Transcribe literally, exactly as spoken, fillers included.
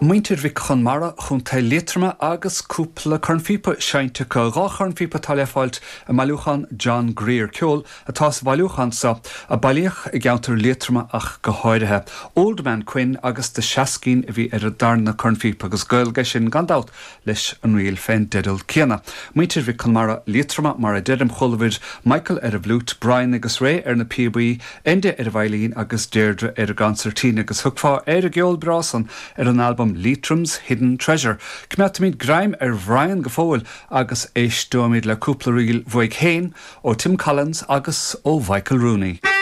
Muintir Mhic Chonmara Chontae Liatroma agus cúpla cornphíopa seinnte acu dhá chornphíopa atá le fáilt i mbailiúchán John Greer ceol atá sa bhailiúchán seo a bailíodh i gceantar Liatroma ach go háirithe. Old Man Quinn agus The Shaskeen a bhí ar an darna cornphíopa agus gaol aige sin gan dabht leis an ríl fén dteideal céanna. Muintir Mhic Chonmara Liatroma mar a deirim chualabhair Michael ar an bhfliúit, Brian agus Ray ar na píobaí, Enda ar an veidhlín agus Deirdre ar an gconsairtín agus thiocfá ar an gceol breá san ar an albam Leitrim's Hidden Treasure. Coimeádfaimid greim ar Bhrian go fóill agus éisteoimid le cúpla ríl uaidh féin ó Tim Collins agus ó Michael Rooney.